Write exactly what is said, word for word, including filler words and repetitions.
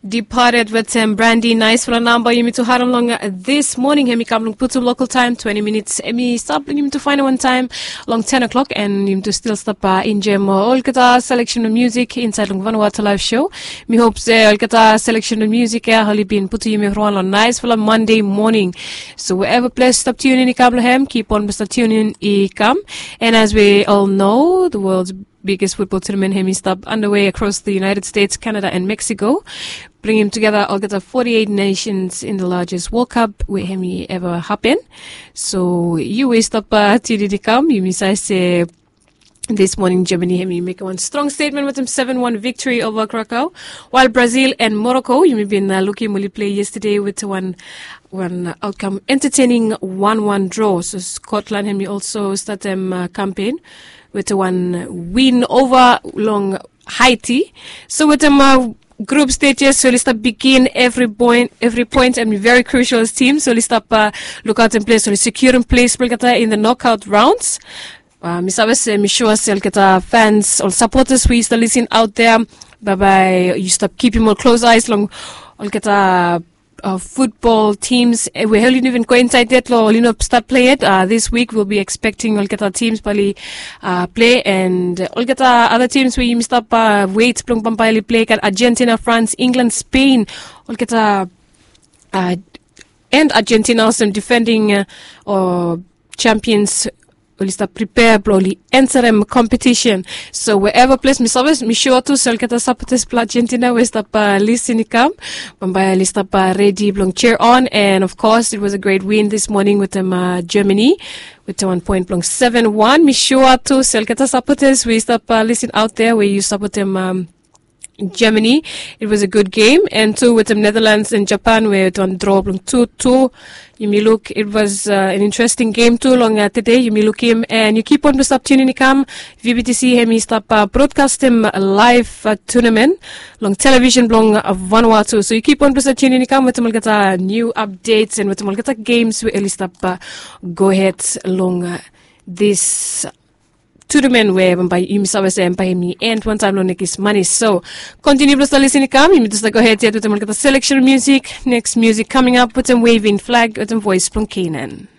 Departed wetem Brandy, naisfala namba yumi tu harem long this morning. Hem i kam long putum local time twenty minutes. Hem i stap long yumi tu faenem wan taem long ten o'clock, and yumi tu stil stap enjoem olgeta selection blong music insaed long Vanuatu Live Show. Mi hop se olgeta selection blong music ya oli bin putum yumi raon long naisfala Monday morning. So wherever ples stap tune in i kam long hem, keep on stap tune in i kam. And as we all know, the world's biggest football tournament hem i stap underway across the United States, Canada and Mexico, bringing together olgeta forty-eight nations in the largest World Cup we hem i ever happen. So yu we stap tune in i kam, yumi save se this morning Germany hem i mekem wan strong statement wetem seven one victory over Krakow, while Brazil and Morocco yumi bin lukim oli play yesterday wetem wan wan outcome entertaining one one draw. So Scotland hem i also statem campaign wetem wan win over long Haiti. So wetem group stages, so oli stap bigin every point, every point hem i very crucial as team. So oli stap lukaotem ples, oli securum ples blong olgeta in the knockout rounds. Mi save se mi sua se olgeta fans, ol supporters we yu stap lisin out there, bambae yu stap kipim ol close eyes long olgeta football teams we oli no even go insaed yet, long oli no stat play yet. This week we'll be expecting olgeta teams bae oli play, and olgeta other teams we yumi stap wet blong bambae oli play, gat Argentina, France, England, Spain, olgeta and Argentina olsem defending o champions, oli stap prepare blong oli ansarem competition. So wherever ples, mi save, mi sua tu se olgeta supporters blong Argentina we stap lisin i kam, bambae oli stap redi blong cheer on. And of course it was a great win this morning wetem Germany wetem wan point blong seven one. Mi sua tu se olgeta supporters we stap lisin out there we yu sapotem Germany. It was a good game, and tu wetem Netherlands and Japan we wetem wan draw blong two two. Yumi luk it was an interesting game tu long tede. Yumi lukim, and yu keep on blong stap tune in i kam. VBTC hem i stap broadcastem live tournament long television blong Vanuatu. So yu keep on blong stap tune in i kam wetem olgeta new updates and wetem olgeta games we oli stap go ahead long this tournament we bambae yumi save se bambae hem i end wantaem long nekis mane. So continue blong stap lisin i kam. Yumi tu stap go ahead yet wetem olgeta selection music. Next music coming up wetem Waving Flag wetem voice blong Canaan.